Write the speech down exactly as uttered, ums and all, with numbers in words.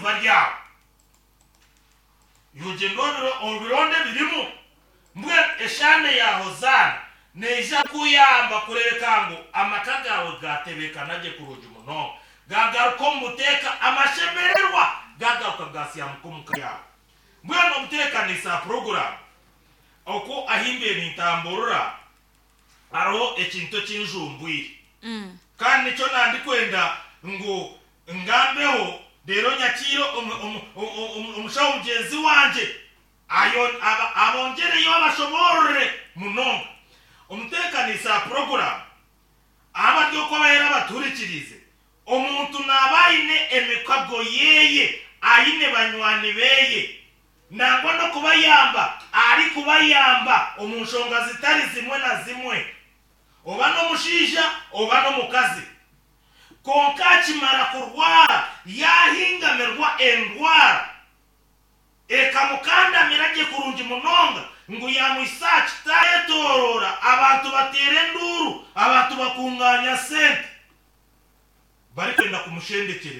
Bari aho, yogyenda obironde birimu. Mbwenu eshaana ya Hozaana neija kuyamba kureebeka ngu amaka gaawe gatebeekana gye kurungi munonga, gagaruka omu buteeka, amashemererwa gagaruka gasyamuka omuka yaawe. Mbwenu omuteekanisa puroguramu, oku ahimbiire nintamburura, hariho ekintu ekinjumbwire, kandi nikyo nandikwenda ngu ngambeho, reero nyakiire omushaho mugyenzi wangye abongyereyo abashoboorore munonga. Omuteekanisa puroguramu, abari oku abaheera abatuhurikiriize, omuntu naaba aine emikago yeeye, aine banywani beeye, nangwa n'okubayamba arikubayamba omu nshonga zitari zimwe na zimwe, oba n'omushaija oba n'omukazi. Kwonka akimara kurwara, yaahingamirwa endwara ekamukandamira gye kurungi munonga ngu yaamwisa aha kitaayetooroora, abantu bateera enduuru, abantu bakunganya sente barikwenda kumushendekyereza.